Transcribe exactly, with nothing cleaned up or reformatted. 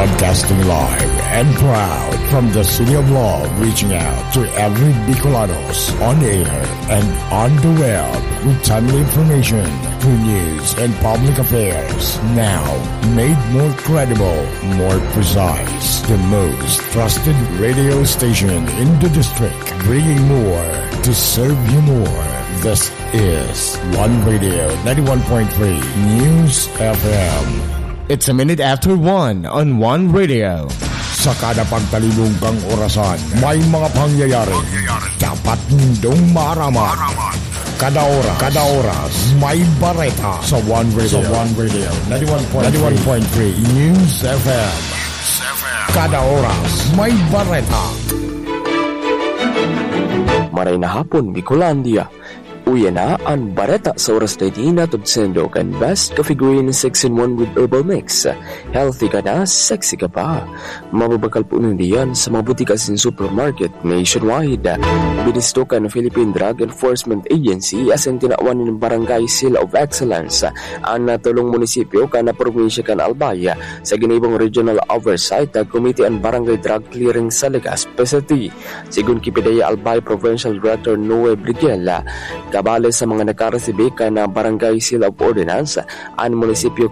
Broadcasting live and proud from the City of Love, reaching out to every Bicolanos on air and on the web with timely information, true news, and public affairs. Now, made more credible, more precise. The most trusted radio station in the district, bringing more to serve you more. This is One Radio ninety-one point three News F M. It's a minute after one on One Radio. Sa kada pagtalibong kang orasan, may mga pangyayari dapat nindong maaraman. Kada oras, kada oras, may bareta sa One Radio. Sa One Radio, ninety-one point three News F M. Kada oras, may bareta. Maray na hapon, Bicolandia. Uya na an bareta sa oras na ini, hatod saindo kan Best Coffee Green six in one with Herbal Mix. Healthy ka na, sexy ka pa. Mababakal po ninda yan sa mga butika asin supermarket nationwide. Binisto kan Philippine Drug Enforcement Agency asin tinawan nin Barangay Seal of Excellence an natulong munisipyo kan probinsya kan Albay. Sa ginibong Regional Oversight Committee an Barangay Drug Clearing sa Legazpi City. Sigon ki Pidea Albay Provincial Director Noe Briguel, kabali sa mga nakaresibi kan Barangay Seal of Ordinance, an munisipyo